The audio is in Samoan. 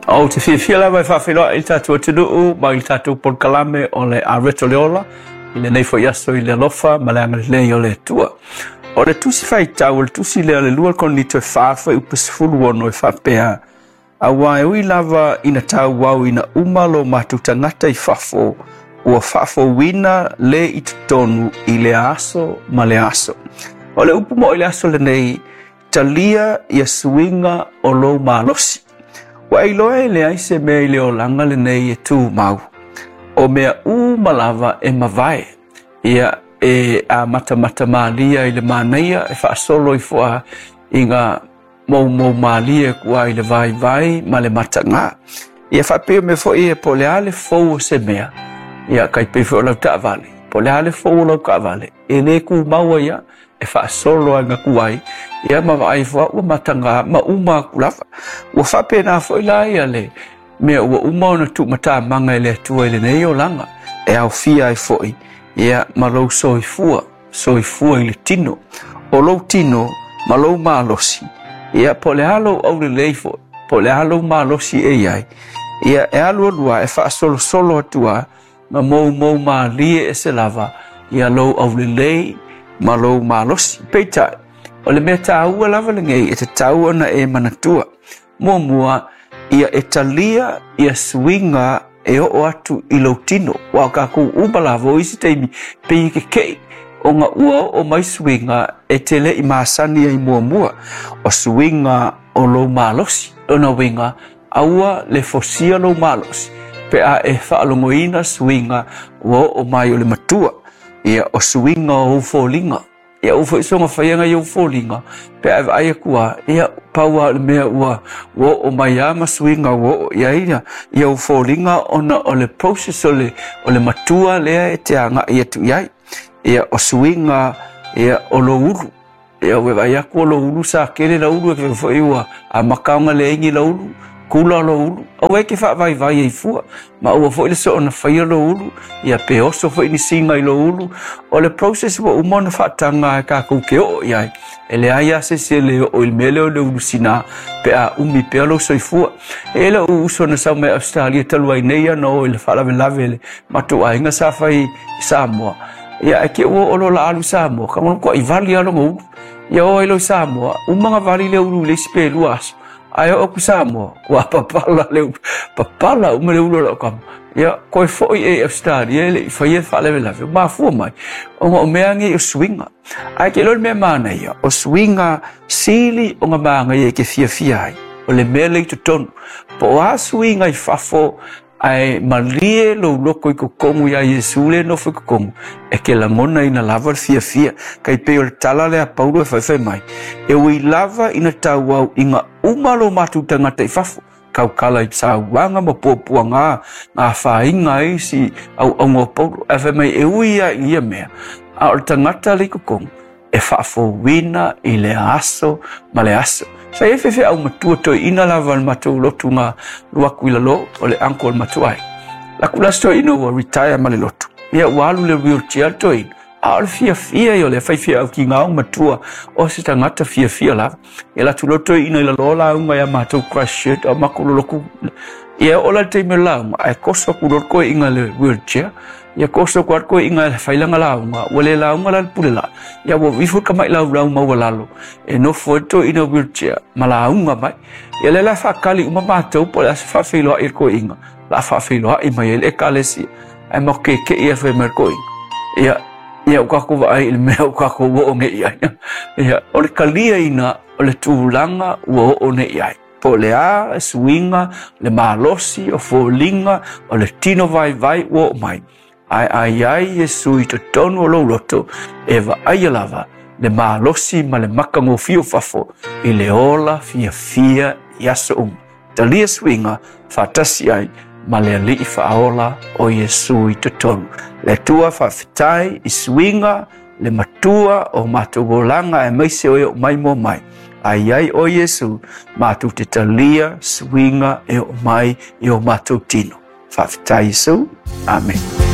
Ou te fiafia lava e faafeiloai i le tatou atunuu ma i le tatou polokalame o le Areto le Ola i lenei foi aso i le alofa ma le agalelei o le Atua. O le tusi faitau, o le tusi lea o le 2 Korinito e 4 fuaiupu 16 e faapea, Aua e ui lava ina tauau ina uma lo matou tagata i fafo, ua faafouina le i totonu i lea aso ma lea aso. O le upu moʻo i le aso lenei, talia ia suiga o lou malosi. Ua e iloa e leai se mea i le olaga lenei e tumau. O mea uma lava e mavae. Ia e amatamata malia i le manaia e faasolo ifo a i ngā moumou malie kua i le vaivai ma le matagā. Ia faapea mea foi e po o le a le fou o se mea, ia kai pei foi o lau taavale, po o le a le fou o lau taavale, e le tumau ai lava, e faasolo ai ku ai, ia ma vaai ifo ua matagā ma uma aku lava. Ua faapena foi la ia le mea ua uma ona tuumatamaga e le Atua i lenei olaga, e aofia ai foi ia ma lou soifua, soifua i le tino. O lou tino ma lou malosi, ia po o le a lou aulelei foi, po o le a lou malosi e i ai, ia e alu alu lava, e faasolosolo atu lava, ma moumou malie ese lava ia lou aulelei ma lou malosi. Peitai, o le mea tāua lava lenei e tatau ona e manatua. Muamua, ia e talia ia suiga e oo atu i lou tino. Ua o kākou uma lava o isi taimi pei e kekeʻi ona ua oo mai suiga e te le i masani ai muamua. O suiga o lou malosi. Lona uiga, aua le fosia lou malosi pe a e faalogoina suiga ua oo mai o le matua. Ia o suiga o ou foliga. Ia ua foi soga faiaga i ou foliga pe a e vaai atu lava, ia pau lava o le mea ua oo mai lava ma suiga ua oo i ai ia ou foliga ona o le process o le matua lea e te agai atu i ai. Ia o suiga ia o lou ulu. Ia ua vaai atu o lou ulu sa tele lau ulu e foi ua amata ona leai ni lau ulu, kula lou ulu. Aua e te faavaivai ai fua, ma aua foi le soona faia lou ulu, ia pe oso foi ni siga i lou ulu. O le process ua uma ona faataga e kākou ke oo i ai. E leai lava se isi e le oo i le mea lea o le ulu sinā pe a umi pea lou soifua. E i ai lou uso na sau mai Australia talu ai nei ana o i le faalavelave i le matou aiga sa fai i Samoa. Ia ae te ua oo loa la alu i Samoa, ka matuai vali lava lona ulu. Ia oo ai loa i Samoa, uma ona vali le ulu i le isi pe 2 aso. Ae oo atu i Samoa, ua papala le ulu, papala uma le ulu o lau tama. Ia, koe foi e i Australia e le i faia le faalavelave, ua mafua mai, ona o mea nei o suiga. Ae ke iloa le mea manaia, o suiga sili ona manaia e te fiafia ai, o le mea lea i totonu. Po o a suiga i fafo, ae malie lou loko i totonu iā Iesu lea e nofo i totonu, e te lagonaina lava le fiafia. Kai pei o le tala lea a Paulo e faifai mai, e ui lava ina tauau ina uma lo matou tagata i fafo, tautala i sauaga ma puapuaga na afaina ai isi auauna o Paulo. Ae fai mai e ui lava i ia mea, a o le tagata lea i totonu, e faafouina i le aso ma le aso. Sa i ai faifeau matua toeaina lava le matou lotu na alu atu i lalo, o le uncle o le matou aiga. Laku la si toeaina ua retire ma le lotu. Ia ua alu i le wheelchair le toeaina, a o le fiafia ia o le faifeau kigao matua o se tagata fiafia lava. Ia alu atu loa le toeaina i lalo lauga ia matou Christchurch, a matou lolotu. Ia oo la i le taimi o le lauga, ae toso atu loa le toeaina i le wheelchair. Ia toso atu lava le toeaina e fai lana lauga, ua le lauga la le pule la. Ia ua ifo le tamai laulau maualalo e nofo ai le toeaina wheelchair ma lauga mai. Ia lea la e faatali uma matou po o le a se faafeiloai a le toeaina, o le a faafeiloai mai ai le ekalesia. Ae matou keke'i lava fai mai le toeaina. Ia, ia ua tatou vaai i le mea ua tatou oo nei i ai. Ia, o le taliaina o le tulaga ua oo nei i ai. Po o le a suiga, le malosi, o foliga, o le tino vaivai ua oo mai. Ae a i ai Iesu i totonu o lou loto, e vaaia lava le malosi ma le matagofie o fafo i le ola fiafia i aso uma. Talia suiga faatasi ai ma le Alii faaola o Iesu i totonu. Le Atua faafetai i suiga le matua o matou olaga aemaise o e oo mai mua mai. A i ai oe Iesu, matou te talia suiga e oo mai i o matou tino. Faafetai Iesu. Amene.